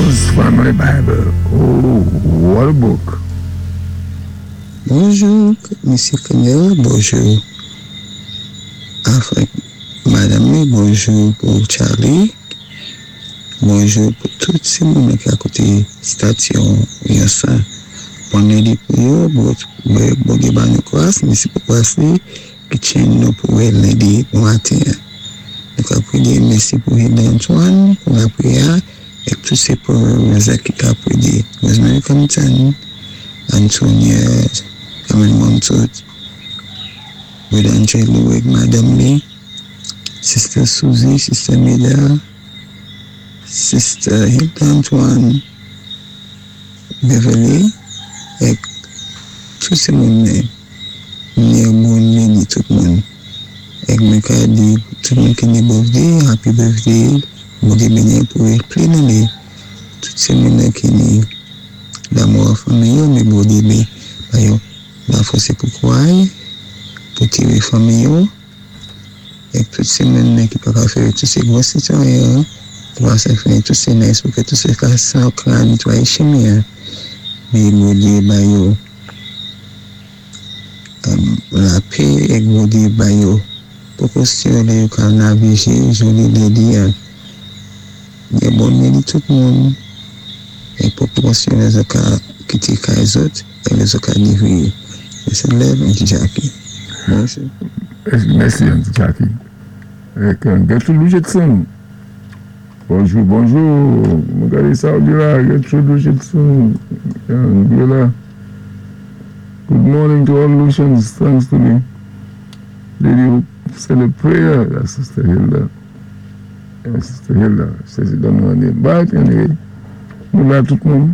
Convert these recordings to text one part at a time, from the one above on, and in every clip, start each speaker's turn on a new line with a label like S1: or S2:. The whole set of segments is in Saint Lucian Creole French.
S1: Jones Family Bible. Oh, what a book!
S2: Bonjou Mesye Kenel bonjou avèk madanm li bonjou pou Charly bonjou pou tout ti moun ki akote station Yonsan bon lundi pou yo Bondye ba nou gras mesi pou gras li ki tchen nou pou wè lundi bon maten an nou ka priye mesi pou Hilda Antoine pou lapriyè a. Ek tout se pou Rosa ki ka predi Rosemary Compton, Antonia Carmen Montoute, Brother Angelo ek madanm li, Sister Suzy, Sister Meda, Sister Hilda Antoine, Beverly ek tout se moun mwen mwen bon midi tout moun ek mwen ka di tout moun ki ni birthday happy birthday. Bondye beni pou pli nan li tout se moun nan ki ni lamò a fanmi yo men Bondye be ba yo la fose pou kouray pou tire fanmi yo ek tout se moun nan ki paka fè tout se gwo sitwayen an pou pa sa fè tout se nice pou ke tout se ka sa kra netwaye chemen an men Bondye ba yo Lapè ek Bondye bay yo pwopòsyon lè yo ka navije joli lè li an. Gen bon midi tout moun ek pwopòsyon lè zo ka kite kay zòt e lè zo ka livre. Mèsi lèv Aunty Jackie. Bonjou.
S1: Mèsi Aunty Jackie. Ek Gertrude Richardson. Bonjou bonjou. Mwen gade sa ou di la Gertrude Richardson. Yo la. Good morning to all Lucians. Thanks to the lady who said a prayer. That's Sister Hilda. Yeah, Sister Hilda. Says you don't know her name. But anyway, nou la tout moun.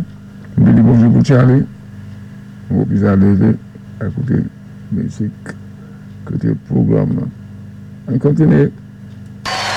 S1: Nou di bonjou pou Charlie. Mwen hope sa leve akoute mizik, koute pwogram nan. An kontinye.